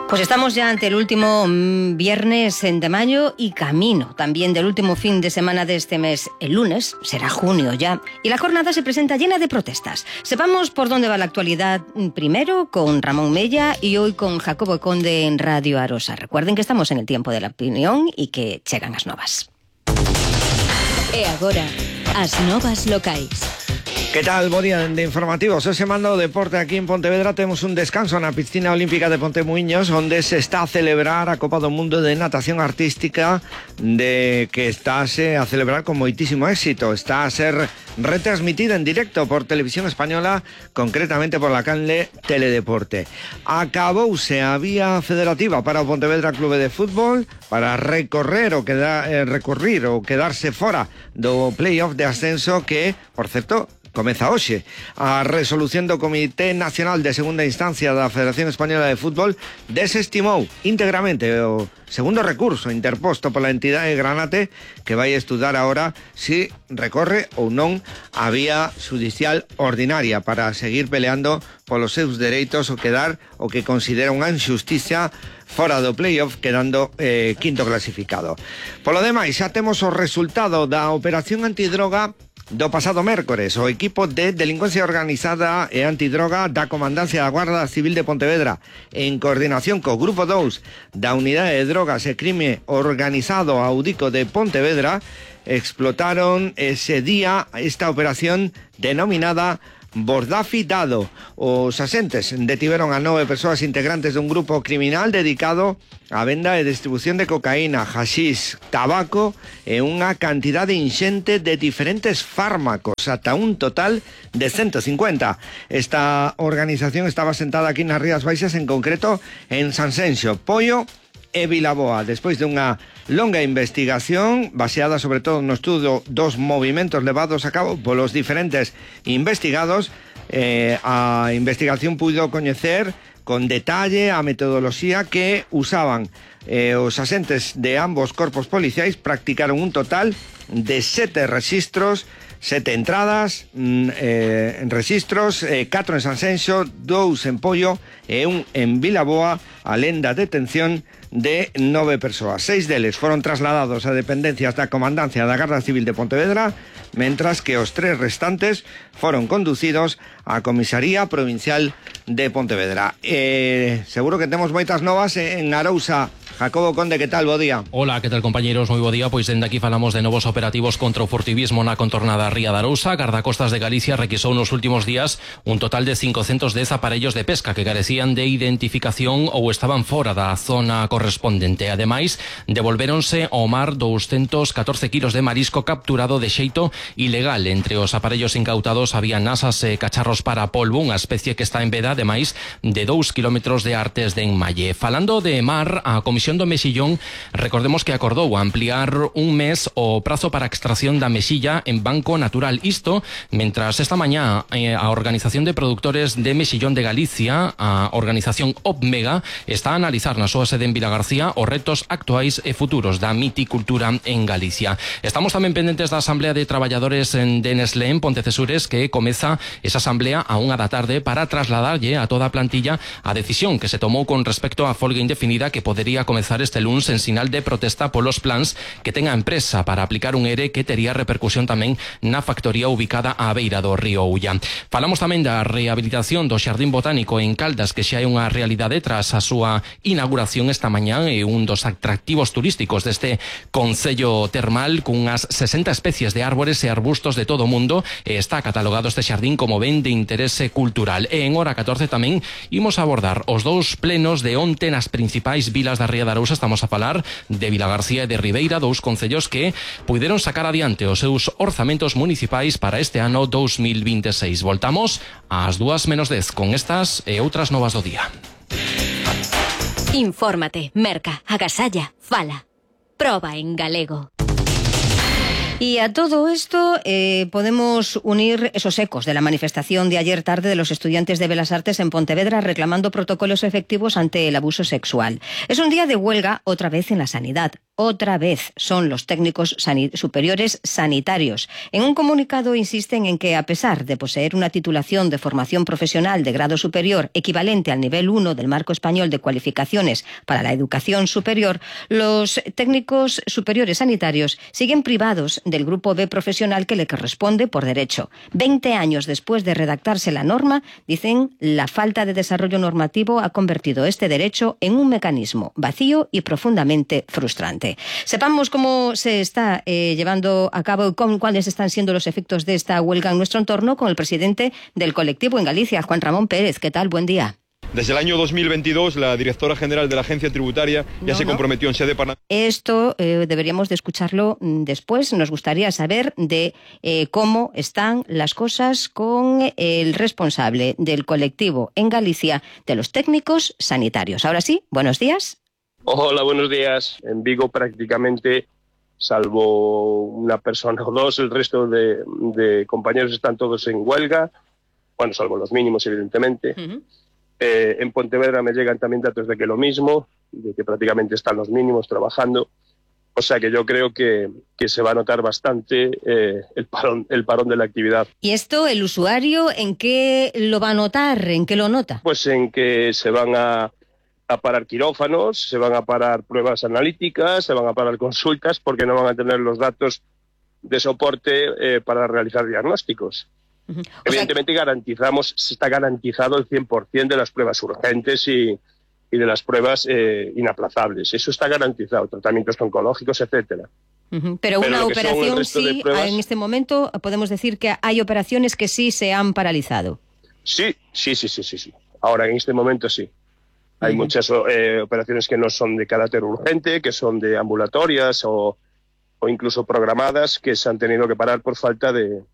Pues estamos ya ante el último viernes de mayo y camino también del último fin de semana de este mes. El lunes será junio ya y la jornada se presenta llena de protestas. Sepamos por dónde va la actualidad primero con Ramón Mella y hoy con Jacobo Conde en Radio Arosa. Recuerden que estamos en el tiempo de la opinión y que chegan as novas. E agora, as novas locais. ¿Qué tal? Bo día de informativos. Hoxe mando o deporte aquí en Pontevedra. Temos un descanso na piscina olímpica de Pontemuiños, onde se está a celebrar a Copa do Mundo de Natación Artística, de que estáse a celebrar con moitísimo éxito. Está a ser retransmitida en directo por Televisión Española, concretamente por la canle Teledeporte. Acabouse a vía federativa para o Pontevedra Clube de Fútbol para recurrir ou quedarse fora do playoff de ascenso que, por certo, comeza hoxe. A resolución do Comité Nacional de Segunda Instancia da Federación Española de Fútbol desestimou íntegramente o segundo recurso interposto pola entidade Granate, que vai estudar agora si recorre ou non a vía judicial ordinaria para seguir peleando polos seus dereitos ou quedar o que considera unha injusticia fora do playoff, quedando quinto clasificado. Polo demais, xa temos o resultado da operación antidroga do pasado mércores. O equipo de delincuencia organizada e antidroga da Comandancia da Guarda Civil de Pontevedra, en coordinación co Grupo 2 da Unidade de Drogas e Crime Organizado Audico de Pontevedra, explotaron ese día esta operación denominada Bordafi Dado. Os asentes detiveron a 9 persoas integrantes dun grupo criminal dedicado á venda e distribución de cocaína, haxís, tabaco e unha cantidade inxente de diferentes fármacos, ata un total de 150. Esta organización estaba sentada aquí nas Rías Baixas, en concreto en Sanxenxo, Poio e Vilaboa. Despois de unha longa investigación baseada sobre todo no estudo dos movimentos levados a cabo polos diferentes investigados, a investigación puido coñecer con detalle a metodoloxía que usaban os asentes de ambos corpos policiais. Practicaron un total de 7 rexistros, 7 entradas en rexistros, 4 en Sanxenxo, 2 en Poio e 1 en Vilaboa, alén da detención de 9 persoas. 6 deles foron trasladados a dependencias da Comandancia da Garda Civil de Pontevedra, mentras que os 3 restantes foron conducidos á Comisaría Provincial de Pontevedra. Seguro que temos moitas novas en Arousa. Jacobo Conde, ¿qué tal? Bo día. Hola, ¿qué tal, compañeros? Moi bo día. Pois dende aquí falamos de novos operativos contra o furtivismo na contornada Ría de Arousa. Gardacostas de Galicia requisou nos últimos días un total de 510 aparellos de pesca que carecían de identificación ou estaban fora da zona correspondente. Ademais, devolvéronse ao mar 214 kilos de marisco capturado de xeito ilegal. Entre os aparellos incautados había nasas e cacharros para polvo, unha especie que está en veda, ademais de 2 kilómetros de artes de enmalle. Falando de mar, a Comisión do Mexillón, recordemos que acordou ampliar un mes o prazo para a extracción da mexilla en banco natural. Isto, mentras esta mañá a Organización de Productores de Mexillón de Galicia, a organización OPMEGA, está a analizar na súa sede en Vilagarcía os retos actuais e futuros da miticultura en Galicia. Estamos tamén pendentes da Asamblea de Traballadores de Nestlé en Pontecesures, que comeza esa asamblea a 1 da tarde para trasladarlle a toda a plantilla a decisión que se tomou con respecto á folga indefinida que podería comezar este luns en sinal de protesta polos plans que ten a empresa para aplicar un ERE que tería repercusión tamén na factoría ubicada á beira do río Ulla. Falamos tamén da rehabilitación do Xardín Botánico en Caldas, que xa é unha realidade tras a súa inauguración esta mañá, e un dos atractivos turísticos deste concello termal, cunhas 60 especies de árbores e arbustos de todo o mundo, e está catalogado este xardín como ben de interese cultural. E en hora 14 tamén imos abordar os 2 plenos de onte nas principais vilas da Ría de Arousa. Estamos a falar de Vilagarcía e de Ribeira, 2 concellos que puideron sacar adiante os seus orzamentos municipais para este ano 2026. Voltamos ás 2:10 con estas e outras novas do día. Infórmate, merca, agasalla, fala. Proba en galego. Y a todo esto podemos unir esos ecos de la manifestación de ayer tarde de los estudiantes de Belas Artes en Pontevedra reclamando protocolos efectivos ante el abuso sexual. Es un día de huelga otra vez en la sanidad. Otra vez son los técnicos superiores sanitarios. En un comunicado insisten en que, a pesar de poseer una titulación de formación profesional de grado superior equivalente al nivel 1 del Marco Español de Cualificaciones para la Educación Superior, los técnicos superiores sanitarios siguen privados del grupo B profesional que le corresponde por derecho. 20 años después de redactarse la norma, dicen, la falta de desarrollo normativo ha convertido este derecho en un mecanismo vacío y profundamente frustrante. Sepamos cómo se está llevando a cabo y cuáles están siendo los efectos de esta huelga en nuestro entorno con el presidente del colectivo en Galicia, Juan Ramón Pérez. ¿Qué tal? Buen día. Desde el año 2022, la directora general de la Agencia Tributaria ya se comprometió en sede parlamentaria. Esto deberíamos de escucharlo después. Nos gustaría saber de cómo están las cosas con el responsable del colectivo en Galicia de los técnicos sanitarios. Ahora sí, buenos días. Hola, buenos días. En Vigo prácticamente, salvo una persona o dos, el resto de compañeros están todos en huelga, bueno, salvo los mínimos, evidentemente. Uh-huh. En Pontevedra me llegan también datos de que lo mismo, de que prácticamente están los mínimos trabajando. O sea que yo creo que se va a notar bastante el parón de la actividad. ¿Y esto, el usuario, en qué lo va a notar? ¿En qué lo nota? Pues en que se van a parar quirófanos, se van a parar pruebas analíticas, se van a parar consultas porque no van a tener los datos de soporte para realizar diagnósticos. Uh-huh. Evidentemente está garantizado el 100% de las pruebas urgentes y de las pruebas inaplazables. Eso está garantizado, tratamientos oncológicos, etcétera. Uh-huh. Pero una operación sí, pruebas, en este momento podemos decir que hay operaciones que sí se han paralizado. Sí. Ahora, en este momento sí. Hay muchas operaciones que no son de carácter urgente, que son de ambulatorias o incluso programadas, que se han tenido que parar por falta de